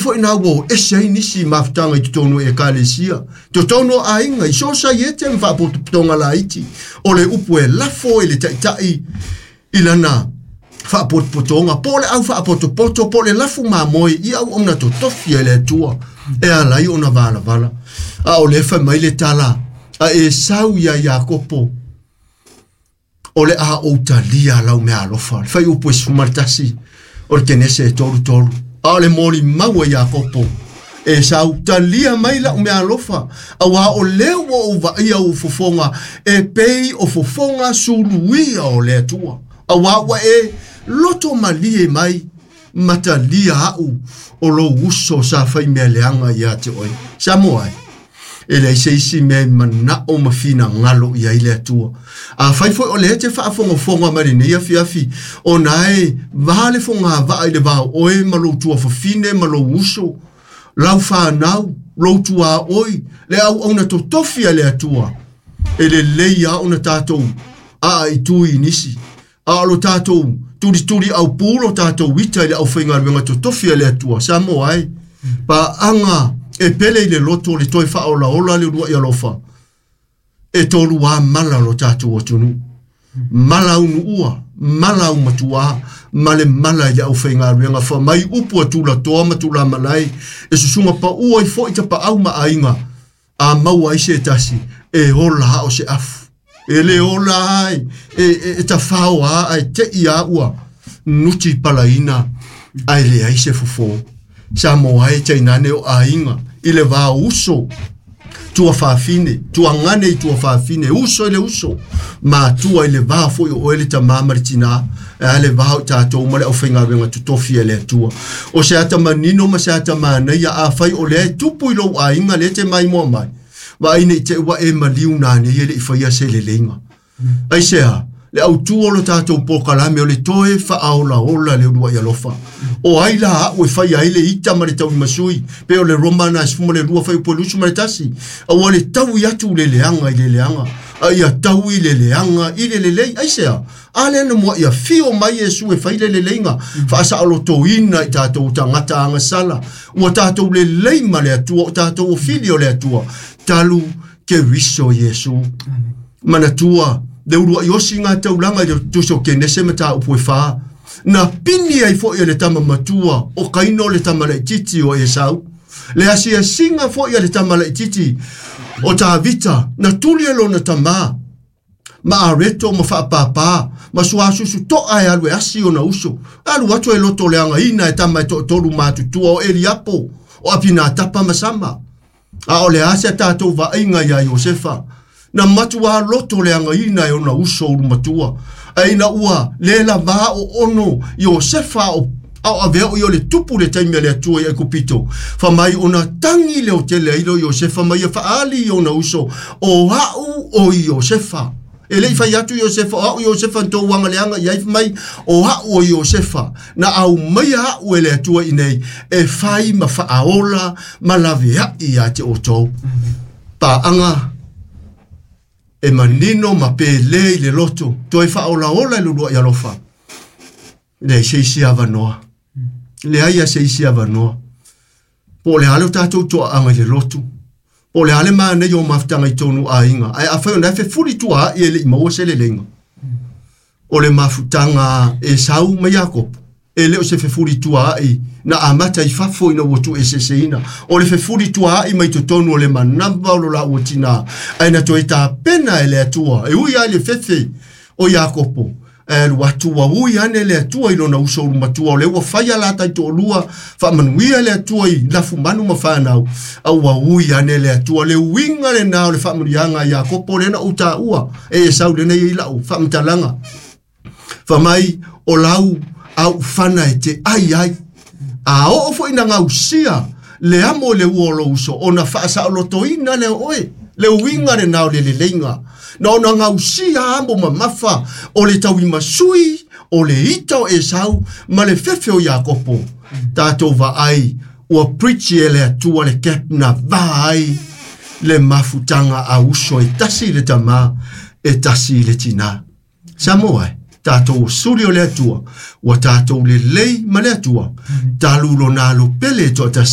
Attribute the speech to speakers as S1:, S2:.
S1: foi na ua ese ai nisi mafutaga i totonu o ekalesia, totonu o aiga, i sosaiete ma faapotopotoga laiti. O le upu e lafo i le taʻitaʻi i lana faapotopotoga po o le au faapotopoto po o le lafu mamoe i auauna totofi e le Atua e ala ai ona valavala. A o lea fai mai le tala a Esau iā Iakopo, o le a ou talia lau meaalofa. Le fuaiupu e 11 o le Kenese e 33. A o le molimau a Iakopo, Esau, talia mai lau meaalofa, auā o lea ua ou vaaia ou fofoga e pei o fofoga suluia o le Atua, auā ua e loto malie mai ma talia aʻu o lou uso sa fai mea leaga ia te oe. Samoa e, e leai se isi mea e manaʻo ma finagalo i ai le Atua. Afai foi o lea e te faafogafoga mai lenei afiafi, ona e va le fogavaa i le va o oe ma lou tuafafine ma lou uso, lau fanau, lou tuaoi, le auauna totofi a le Atua, e lelei lava ona tatou aaitui i nisi. A o lo tatou tulituli aupū lo tatou ita i le aufaigaluega totofi a le Atua. Samoa e, paaga e pele i le loto le toe faaolaola le uluai alofa, e tolu lava mala o lo tatou atunuu. Mala aunuua, mala aumatuā, ma le mala i le aufaigaluega. Fai mai upu a tulatoa ma tulamalae, e susuga paua ai foi tapaau ma aiga, a maua ai se tasi, e ola lava o se afu. E le ola ai, e tafao lava ae teʻi lava ua nuti palaina ae leai se fofo. Samoa e, tainane o aiga i le va o uso, tuafafine, tuagane i tuafafine, uso i le uso, matua i le va foi o oe le tamā ma le tinā, e a le va o i tatou ma le aufaigaluega totofi a le Atua. O se ata manino ma se ata manaia, afai o lea e tupu i lou aiga lea e te maimoa mai, vaai ne i te i ua e maliu nanei e le i faia se leleiga. Aisea? Le autu o lo tatou polokalame o le toe faaolaola le uluai alofa. O ai la aʻu e faia ai le ita ma le tauimasui, pei o le Roma na 12 fuaiupu e 21, aua le taui atu le leaga i le leaga, a ia taui le leaga i le lelei. Aisea? A lea na muaʻi afio mai Iesu e fai le leleiga, faasaolotoina i tatou tagata agasala, ua tatou lelei ma le Atua, o tatou o fili o le Atua, talu Keriso Iesu. Manatua le uluai osiga taulaga i le tusi o Kenese mataupu e 4, na pini ai foi e le tama matua o Kaino le tama laitiiti o Esau. Le asiasiga foi a le tama laitiiti o Tavita, na tuli e lona tamā ma areto ma faapāpā ma suasusu toʻa e alu e asi ona uso. Alu atu e lotoleagaina e tama e toatolu matutua o Eliapo, o Apinatapa ma Sama. A o le a se tatou vaaiga iā Iosefa? Na matuā lotoleagaina e ona uso ulumatua. Ae ina ua le lavā oono Iosefa a o a o avea o ia o le tupu i le taimi a le Atua i Aikupito, fai mai ona tagi leotele ai lea o Iosefa ma ia faaali i ona uso, O aʻu o Iosefa. E le i fai atu Iosefa, o aʻu Iosefa na tou agaleaga i ai, fai mai, o aʻu o Iosefa, na aumaia aʻu e le Atua iinei, e fai ma faaola ma laveaʻi iā te outou. Paaga e manino ma pele i le loto, toe faaolaola i le uluai alofa. Leai se isi avanoa. Leai a se isi avanoa. Po o le a le o tatou toaaga i le lotu, po o le a le manaia o mafutaga i tonu aiga, ae afai o na e fefulituaai e le i maua se leleiga. O le mafutaga a Esau ma Iakopo, e le o se fefulituaai na amata i fafo ina ua tuueseeseina. O le fefulituaai mai totonu o le manava o lo laua tinā, ae na toe tapena e le Atua, e ui lava i le fefe o Iakopo, Ae alu atu ua ui ane le Atua i lona uso ulu matua, o lea ua fai a la taitoalua, faamanuia le Atua i lafumanu ma fanau, a ua ui ane le Atua. Le uiga lena o le faamanuiaga a Iakopo lea na ou taua e Esau lena e i ai lau faamatalaga. Fai mai, o lau auufana e te ai ai. A oo foi ina gausia le amo i le ua o lou uso, ona faasaolotoina lea o oe. Le uiga lena o le leleiga, na ona gausia amo mamafa o le tauimasui o le ita o Esau ma le fefe o Iakopo. Tatou vaai, ua preach e le Atua le gap na va ai le mafutaga a uso e tasi i le tamā, e tasi i le tinā. Samoa e, tatou o suli o le Atua, ua tatou lelei ma le Atua, talu lona alo pele e toatasi.